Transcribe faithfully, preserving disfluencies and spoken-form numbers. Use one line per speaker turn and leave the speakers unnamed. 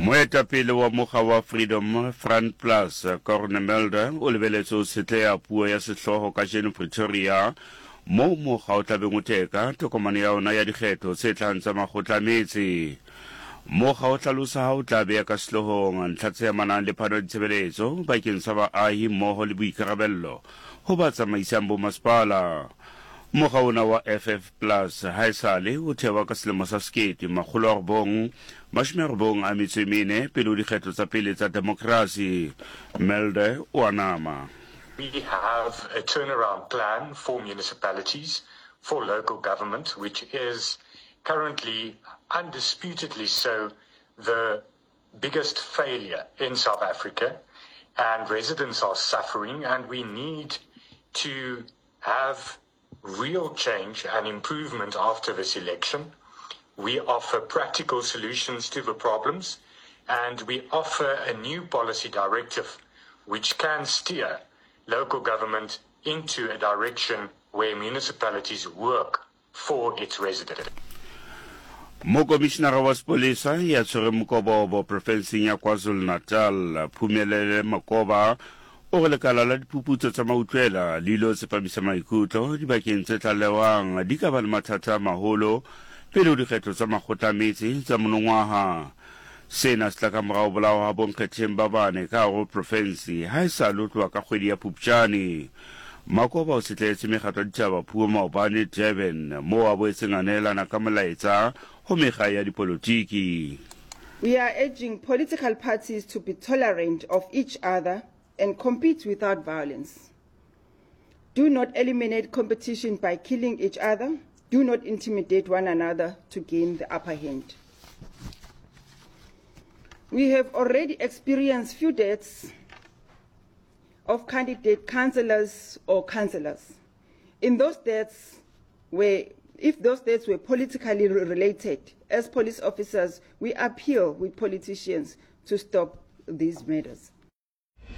Moetapele wa mokga wa Freedom Front Plus, Corne Mulder, o lebeletse ho tshetleha puo ya sehlooho kajeno Pretoria, moo mokga o tlabeng o teka tokomane ya ona ya dikgetho tse tlang tsa makgotla a metse. Mokga o hlalosa ha o tla beha ka sehloohong ntlha tse amanang le phano ya ditshebeletso bakeng sa baahi mmoho le boikarabello ho ba tsamaisang bomasepala. Mokga ona wa F F Plus haesale o thewa ka selemo sa sekete makgolo a robong mashome a robong a metso e mene pele ho dikgetho tsa pele tsa demokrasi. Mulder o a nama.
We have a turnaround plan for municipalities, for local government, which is currently undisputedly so the biggest failure in South Africa, and residents are suffering, and we need to have real change and improvement after this election. We offer practical solutions to the problems, and we offer a new policy directive which can steer local government into a direction where municipalities work for its residents.
Mokomishinara wa sepolesa ya tshwereng mokobobo profenseng ya KwaZulu-Natal, Phumelele Makoba, o re lekala la diphuputso tsa mautlwela le ilo tsepamisa maikutlo dibakeng tse tlalewang di ka ba le mathata a maholo pele ho dikgetho tsa makgotla a metse tsa monongwaha. Sena se tla ka morao bolao ha bonkgetheng ba bane ka hare ho profensi ha e sa lo tloha ka kgwedi ya Phupjane. Makoba o setletse mekgatlo ya ditaba puo maobane Durban, moo a boetseng a neelana ka molaetsa ho mekga ya dipolotiki.
We are urging political parties to be tolerant of each other and compete without violence. Do not eliminate competition by killing each other. Do not intimidate one another to gain the upper hand. We have already experienced few deaths of candidate councillors or councillors. In those deaths, where, if those deaths were politically related, as police officers, we appeal with politicians to stop these murders.